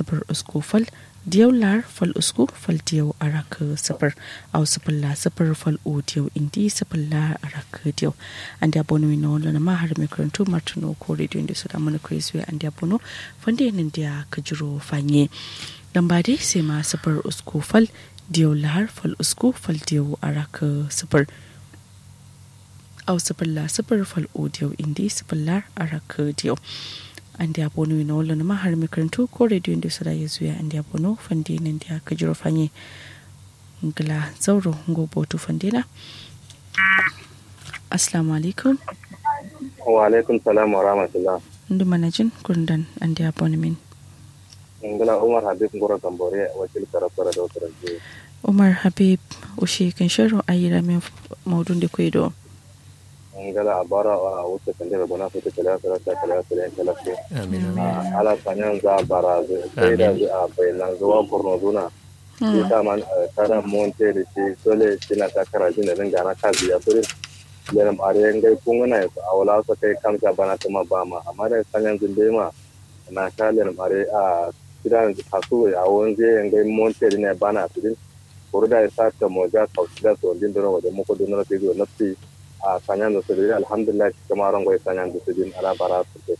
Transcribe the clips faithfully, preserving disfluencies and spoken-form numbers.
sǝfǝr usku fal diyau lar fal usku fal diyau arak sǝfǝr. Au sǝfǝr la sǝfǝr fal u diyau indi sǝfǝr lar arak diyau. Andiya bono wi no lona ma har mai karantu martino ko radio indi so da mana kuri suwe andiya bono fande nan diya kajiro fanye. Lamba dai sai ma sǝfǝr usku fal diyau lar fal usku fal diyau arak sǝfǝr. Au sǝfǝlla sǝfǝr fal u diyau indi sǝfǝllar arak diyau. Andiya bonu wi no wallo nǝma har mai karantu ko radio indi so da yezu ya andiya bono fande nan diya kajiro fanye. Ngla zauro ngo botu fande na. Assalamu alaikum. Wa alaikum salam wa rahmatullah. Ndu manajin kurundan andiya bonu min. Ngla umar habib ngoro gambore wakil karafara da wasu. Umar habib, ushe kan sharo ayi ramin maudun da kwai do. Ngala abara a wuce kan da gona su ta kala kala ta kala kala kala. Amin. Ala sanyan za barazu sai da zu a bayanan zuwa kurno zuna. Shi ta man kada monte da shi dole shi na ta kara jin da dinga na kazi ya suri. Lelam are ngai kunguna ya su awala su kai kamsa bana kuma ba ma amma da sanyan zun dai ma na sha lelam are a kidan kasu a wonze ngai monte da ne bana su din. Kuru da isa ta moja kauci da so din dono wajen muku dono na figo na fi a sanyan da su din alhamdulillah shi kuma rango ya sanyan da su din ala bara su ke.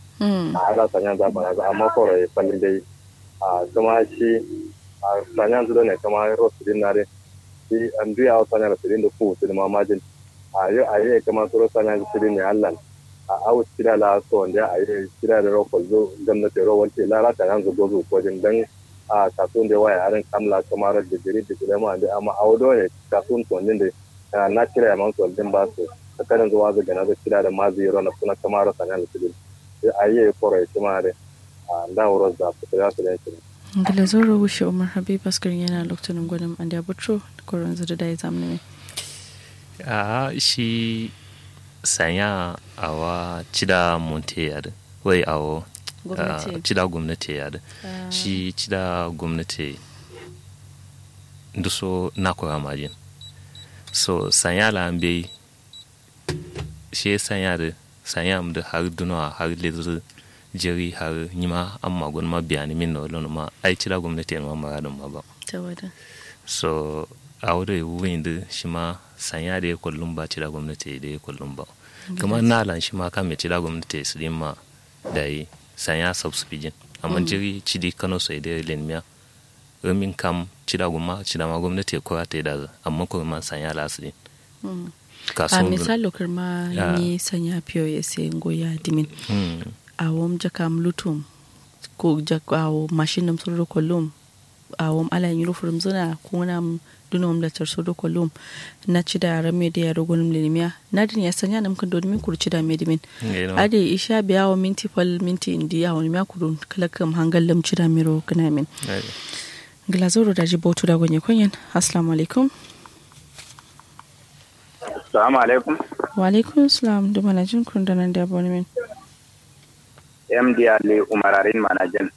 Ala sanyan za bara amma koro ya fallin dai a kuma shi a sanyan zudo ne kuma ro su din na dai shi an duya wa sanyan da su din da ku su din mamajin. A yo a yi kuma suro sanyan da su din ne allan a awu cida la so wanda a yi cida da ro kwalzo gwamnati ro wanti la ra sanyan zu gozu ko din dan a kasun da waya arin kamla kuma ro digiri digiri ma da amma awu do ne kasun to din da na cida ya man so din ba su tsakanin zuwa zu gana da cida da ma zu yi ro na kuna kuma ro sanyan da su din. A yi koro ya kuma dai. Nda wuro za ku kira su yanki. Ngila zoro wushe umar habib askarin yana lokacin gwanin andiya butro koron zai da ya zamani ne. A shi sanya awa cida monte ya da wai awo cida gwamnati ya da shi cida gwamnati duso na kura majin. So sanya la an bai she sanya da sanya am da har dunowa har lezir jeri har nyima amma gunma biyani min no lono ma ai cida gwamnati ma mara dun ma ba. So awo da wurin da shi ma sanya da ya kullum ba cida gwamnati da ya kullum ba. Kuma na lan shi ma kame cida gwamnati su din ma da yi sanya subscription amma jeri cidi kano sai da lenmiya. Rumin kam cida gumma cida ma gwamnati ya kura ta yi da amma kuma man sanya la su din. A misalo kǝrma ni sanya fiyo ya sai ngoya dimin. Awom jakam lutum ko jakam awo mashin nam suro do kollum. Awom ala nyiro furum zuna kuna duno mla tar suro do kollum. Na cida ramme de ya do gonum lenimiya na din ya sanya nam kǝndo dimin kuru cida me dimin. Ade isha biya awo minti fal minti indi awo nimiya kuru kala kam hangal lam cida me ro kǝna min. Ngla zoro daji botu da gonye konyen. Assalamu alaikum. Assalamu alaikum. Wa alaikum salam duma na jin kun da nan da abonemen. Md ali umararin mana jin.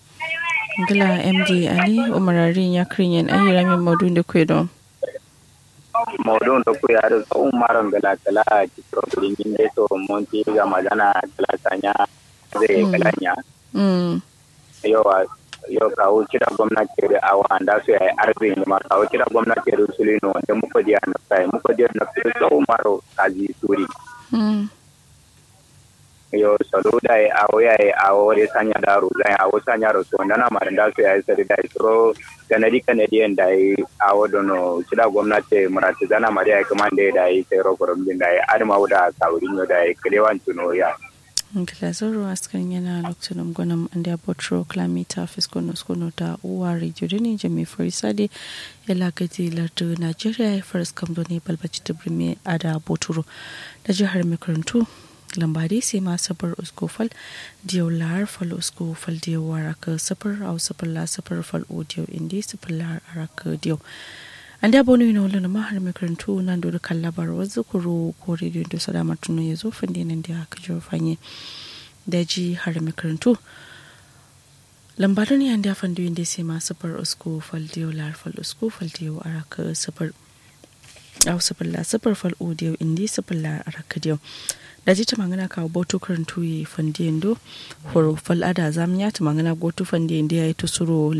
Ngla md ali umararin ya kirin yen ayi ramin modun da kwe don. Modun da kwe ya da tsawon maron gala kala a cikin rogulin yin da to monti ga magana kala sanya zai kala nya. Yowa. Yo kawu cida gomna ceri awo anda so yayi arzi indima kawu cida gomna ceri suluyi no wande muko diya nafsayi muko diya nafsayi sau maro kazi suri. Yo salo dayi awo yayi awo de sanya da ruzayi awo sanya ro so ndana mari nda so yayi sari dayi suro kanadi kanadi yen dayi awo dono cida gomna ceri murati zana mari yayi kǝmande dayi sai ro korom din dayi adǝma wuda kawuri nyo dayi kǝlewan cuno ya. Ngla zoro askar nyena loktunum gonum andia boturo klamita fiskono skono da uwa radio duni jami farisade. Yala gadi lardu nigeria ya faris kam duni balbaci tibrimi ada boturo. Da jihar makarantu lambari sai ma sabar usko fal diyau lahar fal usko fal diyau waraka sabar au sabar la sabar fal o diyau indi sabar lahar araka diyau. Andia bonu ino lona ma har makarantu nan do kan labar wazu kuro ko radio do salama tuno yazo fande nan dia kajo fanye. Daji har makarantu lamba doni andia fando inde sai ma sabar usko fal diyau lar fal usko fal diyau araka sabar au sabar la sabar fal o diyau indi sabar lar araka diyau. Daji tamangana kawo botu karantu ye fande ndo horo fal ada zamiya tamangana gotu fande inde yayi tusuro.